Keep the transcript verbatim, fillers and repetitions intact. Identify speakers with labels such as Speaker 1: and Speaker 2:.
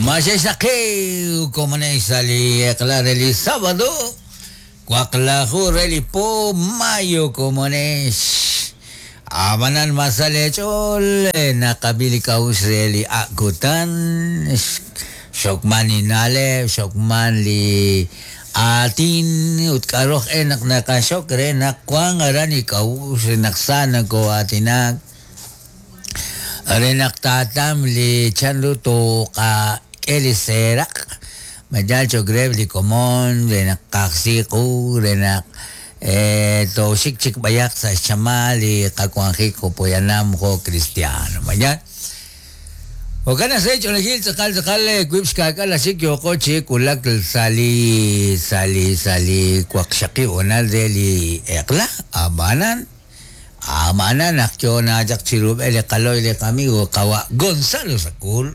Speaker 1: Maxexaqi komonex li eq'la re li sábado waqlaju re li po mayo komonex abanan masalech'ol naqab'i li k'a'uxl re li akutan xokman li na'leb' xokman li aatin ut k'aroj e naq naqaxok re naq wan aran li k'a'uxl naq sa nako'aatinak re naq taatam li chanru toqak'e li seeraq mayal cho'q reheb' li komon re naq qajsiqu re naq toxik chik b'ayaq sa' xchamal li qawanjik jo' poyanam jo' cristiano mayal Jo'kan naq ch'oolejil tz'aqal tz'aqal wiib' xka'k'al axik yooqo chi wulak sa' li sa' li sa' li waqxaqib' honal re li eq'la ab'anan ab'anan naq yo nachaq chi rub'el li qaloy li qamigo qawa' Gonzalo Sacul.